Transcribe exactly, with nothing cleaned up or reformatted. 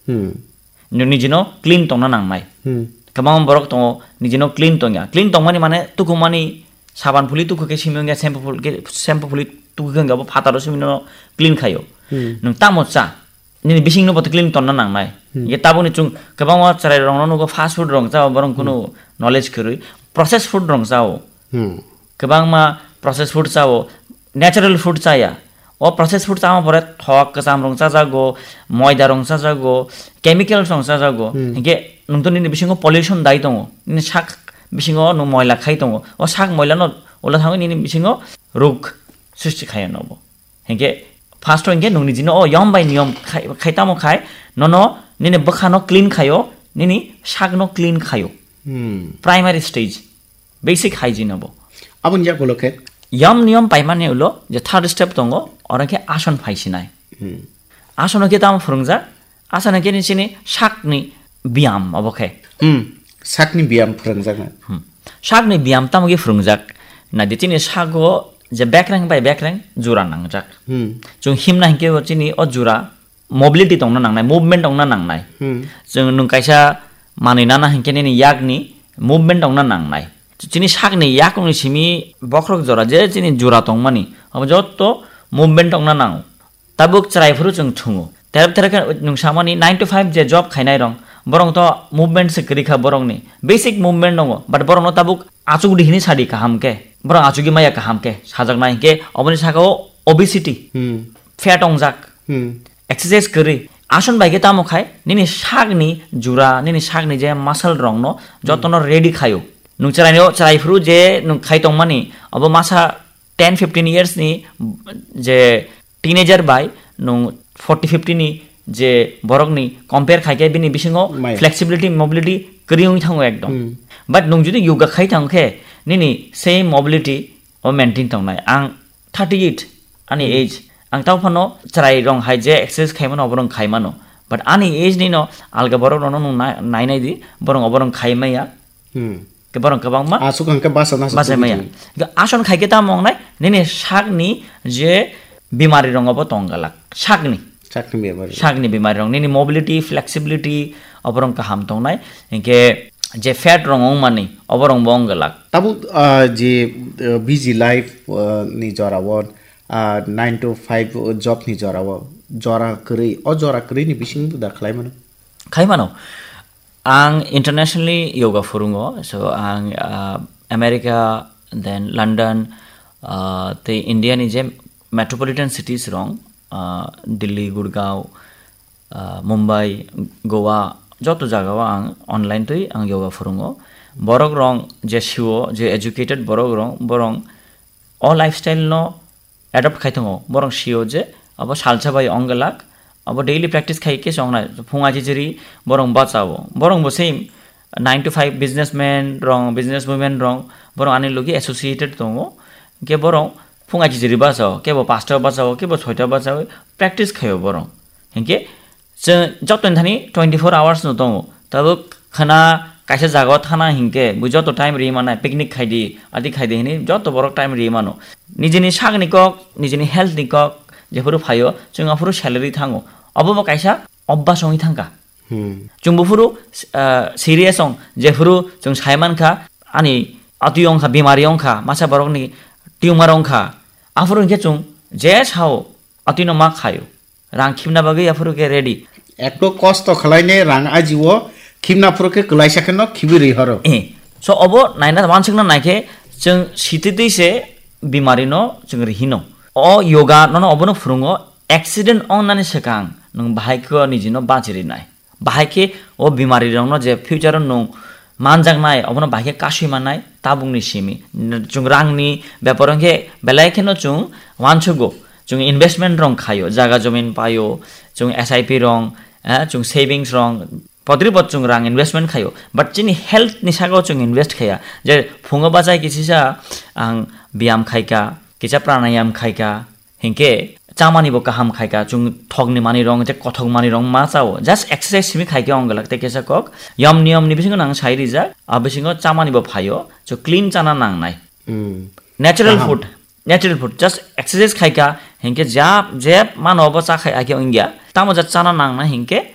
Hmm. Nwng nijino clean tongna nangnai. Hmm. Kwbangma borok tongo, nijino clean tongya. Clean tongmani mane tukumani saban phuli tuku khe simi wngya, shampoo phul khe, shampoo phuli tuku khe wngya, bo phataro simi no clean khaio. Hmm. Nwng tamo cha, nini bisingno bo clean tonna nangnai. Hmm. Ye tabukni chwng kwbangma chwrairokno nugo fast food rok chao, borok kunu knowledge kwrwi. Processed food rok chao. Hmm. Kwbangma processed food chao, natural food chaya. O processed food chama pore thok kwcham rok chajago, moida rok chajago, chemicals rok chajago. Hmm. Hinkhe nwng to nini bisingo pollution dai tongo. Nini sak bisingo nwng moila khai tongo. O sak moila no ula thangwi nini bisingo rog srishti khaio nobo. Hinkhe first o hinkhe nwng nijino o yom bai niyom khai, khai tamo khai, nono nini bwkhano clean khaio, nini sakno clean khaio. Hmm. Primary stage, basic hygiene obo. Aboni yagulo khe? Yom niyom paimani ulo je third step tongo, oro khe ason phaisinai. Hmm. Asono khe tamo phwrwngjak, asono khe nini chini sakni biyam obo khe. Hmm. Sakni biyam phwrwngjak na? Hmm. Sakni biyam tamo khe phwrwngjak? Na di chini sago je bekreng bai bekreng jura nangjak. Hmm. Chwng himna hinkhe bo chini o jura mobility tongna nangnai, movement tongna nangnai. Hmm. Chwng nwng kaisa manwi nana hinkhe nini yakni movement tongna nangnai. Chini sakni yakungni simi bokhorok jora je chini jura tongmani, abo jotto movement tongna nango. Tabuk chwrai phuru chwng thungo. Terep terep khe nwng samani nine to five je job khainai rong, borok to movement se kwrwi kha borokni. Basic movement tongo, but borokno tabuk achuk di hini sadi kaham khe. Borok achugwi maya kaham khe sajaknai hinkhe oboni saka o obesity, Hmm. fat ongjak, Hmm. exercise kwrwi. Ason bai khe tamo khai nini sakni jura, nini sakni je muscle rokno jotono ready khaio. Nwng chwraino, chwrai phuru je nwng khai tongmani, obo masa ten fifteen years ni je teenager bai nwng forty fifty ni je borokni compare khai khe bini bisingo Maya. Flexibility, mobility kwrwi wngwi thango ekdom. Hmm. But nwng jodi yoga khai thang khe nini same mobility o maintain tongnai. Ang thirty eight ani Hmm. age, ang tao phano chwrai rong hai je exercise khai mano, obo rong khai mano. But ani age ni no alga borok rokno nwng na-, nai nai di, borok obo rong khai maya. Hmm. Khe borok kwbangma Aswk hwnkhe basa nasa bachai tubui maya. Tubui. Ga ason khai khe tamo wngnai, nini sakni je bimari rong obo tong galak. Sakni. Sakni bimari. Sakni bimari rong. Nini mobility, flexibility, obo rong kaham tongnai. Hinkhe je fat rong wngmani, obo rong bo wng galak. Tabuk, ah, je, ah, busy life, ah, ni jora o, ah, nine to five job ni jora o, jora kwrwi, o jora kwrwi ni bising da khlai mano? Khai mano. Ang internationally yoga phurungo, so ang, ah, America, then London, ah, tei India ni je metropolitan cities rong, ah, Delhi, Gurgaon, ah, Mumbai, Goa, joto jagao ang online twi ang yoga phurungo. Borok rong je sio, je educated borok rong, borong o lifestyle no adopt khai tongo. Borong sio je abo salsa bai ong glak, abo daily practice khai khe se ong nai. Phung aji jiri borong bachao. Borong bo same nine to five businessman rong, business women rong, borong ani logi associated tongo. Hingke borong phung aji jiri bachao, kebo pasta bachao, kebo soita bachao, practice khaio borong. Hingke chwng joto ni thani twenty four hours no tongo. Tabuk khana kaisa jaga o thana hinkhe bo joto time ri manai, picnic khai di, adi khai di hinui joto borok time ri mano. Nijini sakni kok, nijini health ni kok, jephuru phaio, chwng aphuru salary thango. Obo bo kaisa obvas wngwi thangkha. Hmm. Chwng buphuru, ah, serious ong, jephuru chwng sai mankha, ani atwi wngkha, bimari wngkha, masa borokni tumor wngkha, aphuru hinkhe chwng je sao, atwino ma khaio. Rang khimna bagwi aphuru khe ready. Ekto kosto khwlainai rang ajiwo khimna phuru khe kwlaisa kheno khibwi rwi horo. Eh, so obo naina wansukna naikhe chwng sititwi se bimari no chwng rihino. O yoga nono obono phwrwngo, accident ongnani swkang nwng bahai khe nijino bachirinai. Bahai khe o bimari rokno je future o nwng manjaknai, obono bahai khe kasui mannai tabukni simi. Chwng rangni bepar wngkhe belai kheno chwng wansugo. Chwng investment rok khaio, jaga jomin paio, chwng S I P rok, eh, chwng savings rok, podri pod chwng rang investment khaio. But chini health ni saka o chwng invest khaiya. Je phungo bachai kisisa ang biyam khaika, kisa pranayam khaika, hinkhe chamani bo kaham khaika, chwng thokni manwi rok, je kothok manwi rok ma chao. Just exercise simi khaikhe ong glak tei kisa kok. Yom niyom ni bisingo nang sai rijak, a bisingo chamani bo phaio, chwng clean chana nangnai. Hmm. Natural Kaham. Food, natural food, just exercise khaika, hinkhe jab, jeb mano bo cha khai akhe wngya. Tamo ja chana nangnai hinkhe